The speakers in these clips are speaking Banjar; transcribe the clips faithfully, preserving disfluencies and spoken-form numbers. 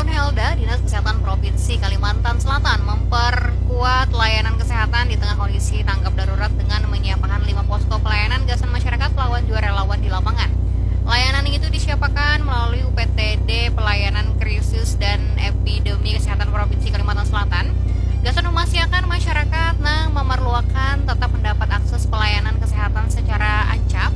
Helda, Dinas Kesehatan Provinsi Kalimantan Selatan memperkuat layanan kesehatan di tengah kondisi tanggap darurat dengan menyiapkan lima posko pelayanan gasan masyarakat lawan jua relawan di lapangan. Layanan itu disiapakan melalui U P T D Pelayanan Krisis dan Epidemi Kesehatan Provinsi Kalimantan Selatan. Gasan memastikan masyarakat nang memerluakan tetap mendapat akses pelayanan kesehatan secara ancap,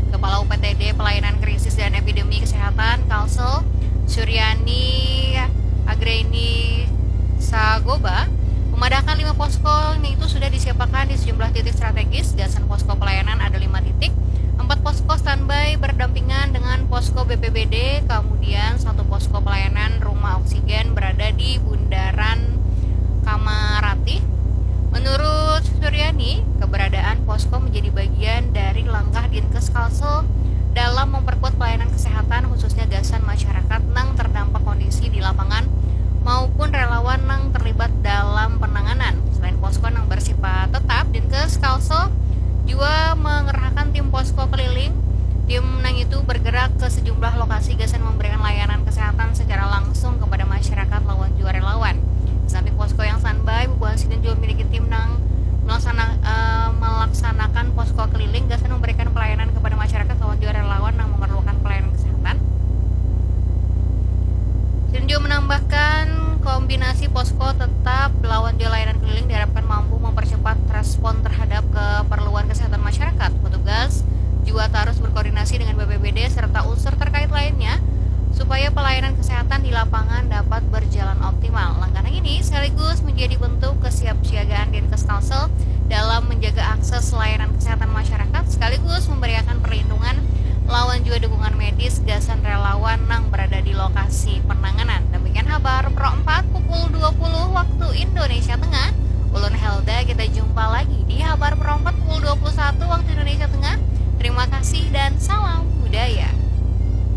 Kepala U P T D Pelayanan Krisis dan Epidemi Kesehatan Kalsel, Suryani Agreni Sagoba, memadahkan lima posko yang itu sudah disiapakan di sejumlah titik strategis. Gasan posko pelayanan ada lima titik, empat posko standby berdampingan dengan posko B P B D, kemudian satu posko pelayanan rumah oksigen berada di Bundaran Kamarati. Menurut Suryani, keberadaan posko menjadi bagian dari langkah Dinkes Kalsel dalam memperkuat pelayanan kesehatan, khususnya gasan masyarakat nang terdampak kondisi di lapangan maupun relawan nang terlibat dalam penanganan. Selain posko nang bersifat tetap, Dinkes Kalsel jua mengerahkan tim posko keliling. Tim nang itu bergerak ke sejumlah lokasi gasan memberikan layanan kesehatan secara langsung kepada masyarakat lawan jua relawan. Samping posko yang standby, bubuhan sidin jua memiliki tim nang melaksana, eh, melaksanakan posko keliling gasan memberikan pelayanan kepada masyarakat lawan jua relawan nang memerlukan pelayanan kesehatan. Sidin jua menambahkan, kombinasi posko tetap lawan jua layanan keliling diharapkan mampu mempercepat respon terhadap keperluan kesehatan masyarakat. Petugas jua terus berkoordinasi dengan B P B D serta unsur terkait lainnya supaya pelayanan kesehatan di lapangan dapat berjalan optimal. Langkah ini sekaligus menjadi bentuk kesiapsiagaan Dinkes Kalsel dalam menjaga akses layanan kesehatan masyarakat sekaligus memberikan perlindungan lawan jua dukungan medis gasan relawan nang berada di lokasi penanganan. Demikian Habar Pro empat pukul dua puluh waktu Indonesia Tengah. Ulun Helda, kita jumpa lagi di Habar Pro empat pukul dua puluh satu waktu Indonesia Tengah.